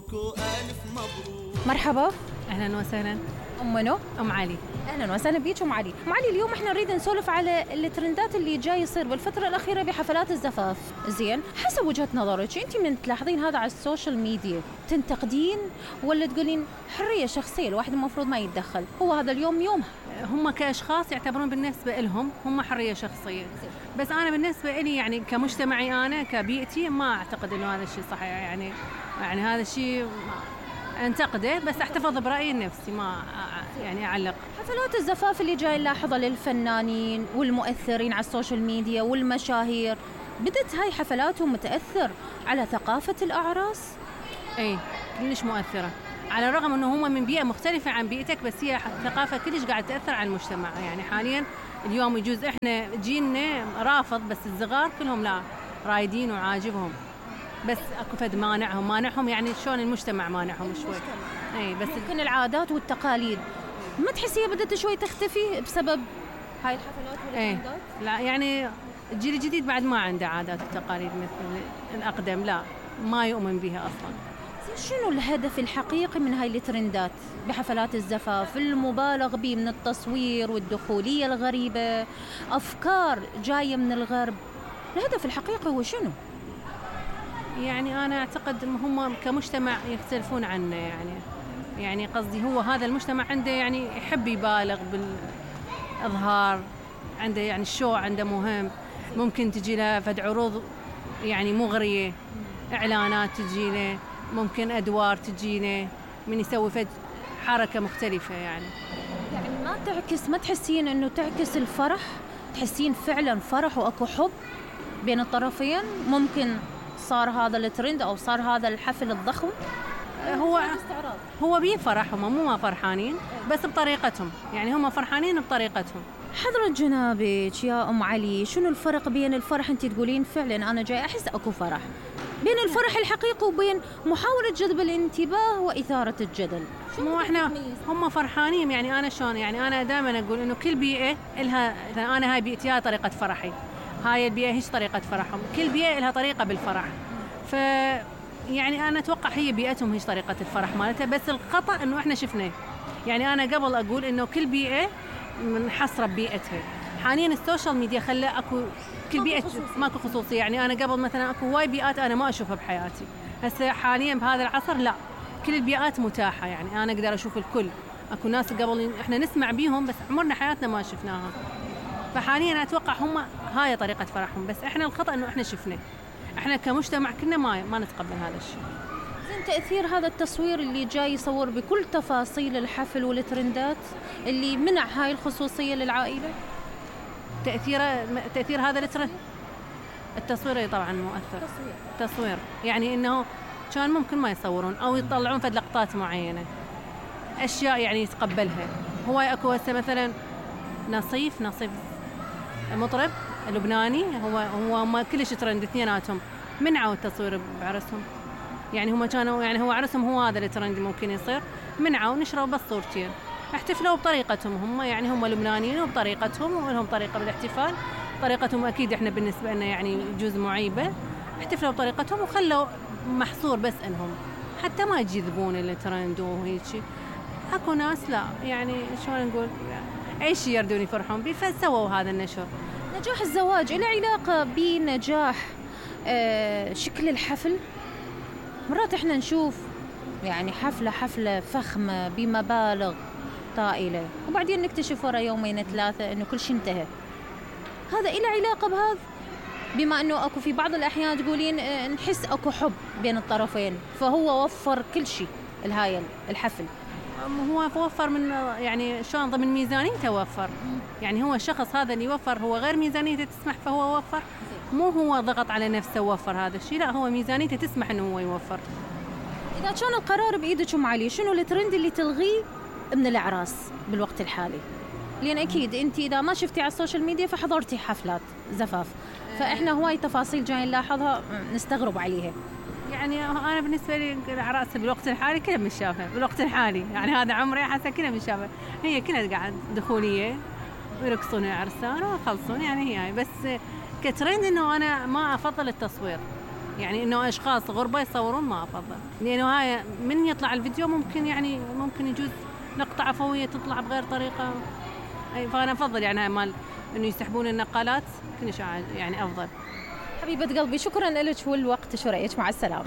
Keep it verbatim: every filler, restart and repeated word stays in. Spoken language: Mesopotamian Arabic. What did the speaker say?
مبروك وألف مبروك. مرحبا. أهلا وسهلا. أم منو؟ أم علي. أهلا وسهلا بيك أم علي. أم علي اليوم إحنا نريد نسولف على الترندات اللي جاي يصير بالفترة الأخيرة بحفلات الزفاف. زين، حسب وجهة نظرك أنت من تلاحظين هذا على السوشيال ميديا تنتقدين ولا تقولين حرية شخصية الواحد المفروض ما يتدخل، هو هذا اليوم يومها؟ هم كأشخاص يعتبرون بالنسبة لهم هم حرية شخصية، بس أنا بالنسبة لي يعني كمجتمعي أنا كبيئتي ما أعتقد إنه هذا الشيء صحيح. يعني يعني هذا الشيء انتقده، بس احتفظ برأيي النفسي، ما يعني أعلق. حفلات الزفاف اللي جاي نلاحظها للفنانين والمؤثرين على السوشيال ميديا والمشاهير، بدت هاي حفلاتهم متأثر على ثقافة الأعراس؟ اي كلش مؤثرة، على الرغم انه هم من بيئة مختلفة عن بيئتك، بس هي ثقافة كلش قاعد تأثر على المجتمع. يعني حاليا اليوم يجوز احنا جيلنا رافض، بس الصغار كلهم لا رايدين وعاجبهم، بس اكو فد مانعهم مانعهم يعني شلون المجتمع مانعهم شوي. اي بس ممكن العادات والتقاليد ما تحسيها بدت شوي تختفي بسبب هاي الحفلات والترندات؟ لا يعني الجيل الجديد بعد ما عنده عادات وتقاليد مثل الأقدم، لا ما يؤمن بها أصلا. شنو الهدف الحقيقي من هاي الترندات بحفلات الزفاف المبالغ به من التصوير والدخولية الغريبة، أفكار جاية من الغرب؟ الهدف الحقيقي هو شنو؟ يعني أنا أعتقد هم كمجتمع يختلفون عنا. يعني يعني قصدي هو هذا المجتمع عنده يعني يحب يبالغ بالإظهار، عنده يعني الشو عنده مهم، ممكن تجي له فد عروض يعني مغرية، إعلانات تجي له، ممكن أدوار تجي له، من يسوي فد حركة مختلفة. يعني يعني ما تعكس، ما تحسين إنه تعكس الفرح؟ تحسين فعلا فرح وأكو حب بين الطرفين؟ ممكن صار هذا الترند أو صار هذا الحفل الضخم؟ هو هو بيه فرح، هم مو ما فرحانين بس بطريقتهم، يعني هم فرحانين بطريقتهم. حضرة جنابك يا أم علي، شنو الفرق بين الفرح أنت تقولين فعلا أنا جاي أحس أكو فرح، بين الفرح الحقيقي وبين محاولة جذب الانتباه وإثارة الجدل؟ مو إحنا هم فرحانين. يعني أنا شلون، يعني أنا دائما أقول إنه كل بيئة لها، أنا هاي بيئتي هاي طريقة فرحي، هاي البيئة هيش طريقة فرحهم، كل بيئة لها طريقة بالفرح. ف يعني أنا أتوقع هي بيئتهم هيش طريقة الفرح مالتها، بس الخطأ إنه إحنا شفناه. يعني أنا قبل أقول إنه كل بيئة منحصرة ببيئتها، حاليا السوشيال ميديا خلى أكو كل بيئة ماكو خصوصية. يعني أنا قبل مثلا أكو واي بيئات أنا ما أشوفها بحياتي، هسه حاليا بهذا العصر لا، كل البيئات متاحة، يعني أنا أقدر أشوف الكل. أكو ناس قبل إحنا نسمع بيهم بس عمرنا حياتنا ما شفناها، فحاليا أتوقع هم هاي طريقة فرحهم، بس إحنا الخطأ إنه إحنا شفناه، إحنا كمجتمع كنا ما ما نتقبل هذا الشيء. زين، تأثير هذا التصوير اللي جاي يصور بكل تفاصيل الحفل والترندات اللي منع هاي الخصوصية للعائلة؟ تأثير تأثير هذا الترند التصوير طبعا مؤثر. تصوير تصوير يعني إنه كان ممكن ما يصورون أو يطلعون فد لقطات معينة، أشياء يعني يتقبلها. هو أكو هسه مثلا نصيف نصيف مطرب لبناني، هو هو ما كلش ترند، اثنيناتهم منعوا التصوير بعرسهم. يعني هم كانوا يعني هو عرسهم هو هذا الترند ممكن يصير، منعوا نشروا بس صورتين، احتفلوا بطريقتهم هم، يعني هم لبنانيين وبطريقتهم ولهم طريقة بالاحتفال، طريقتهم أكيد إحنا بالنسبة لنا يعني جزء معيبة، احتفلوا بطريقتهم وخلوا محصور بس إنهم حتى ما يجذبون الترند وهيك. أكو ناس لا، يعني شلون نقول، أي شيء يردون يفرحون بيه فسووا هذا النشر. نجاح الزواج له علاقة بنجاح آه شكل الحفل؟ مرات احنا نشوف يعني حفلة حفلة فخمة بمبالغ طائلة وبعدين نكتشف ورا يومين ثلاثة انه كل شيء انتهى. هذا له علاقة بهذا؟ بما انه اكو في بعض الاحيان تقولين اه نحس اكو حب بين الطرفين فهو وفر كل شيء لهاي الحفل. هو وفر من يعني شلون ضمن ميزانيته وفر، يعني هو الشخص هذا اللي يوفر هو غير ميزانيته تسمح فهو وفر، مو هو ضغط على نفسه ووفر هذا الشيء، لا هو ميزانيته تسمح انه هو يوفر. اذا كان القرار بايدك ام علي، شنو الترند اللي تلغيه من الاعراس بالوقت الحالي؟ لان اكيد انت اذا ما شفتي على السوشيال ميديا فحضرتي حفلات زفاف، فاحنا هواي تفاصيل جاي نلاحظها نستغرب عليها. يعني انا بالنسبه لي الاعراس بالوقت الحالي كلها متشافه، بالوقت الحالي يعني هذا عمري حاسه كلها متشافه، هي كلها قاعد دخوليه ويرقصون العرسان ويخلصون، يعني هي بس كترند انه انا ما افضل التصوير، يعني انه اشخاص غربة يصورون ما افضل، لانه هاي من يطلع الفيديو ممكن يعني ممكن يجوز لقطة عفوية تطلع بغير طريقة. فانا افضل يعني هاي مال انه يسحبون النقالات كلش يعني افضل. حبيبة قلبي شكرا لك والوقت، شو رأيك؟ مع السلامة.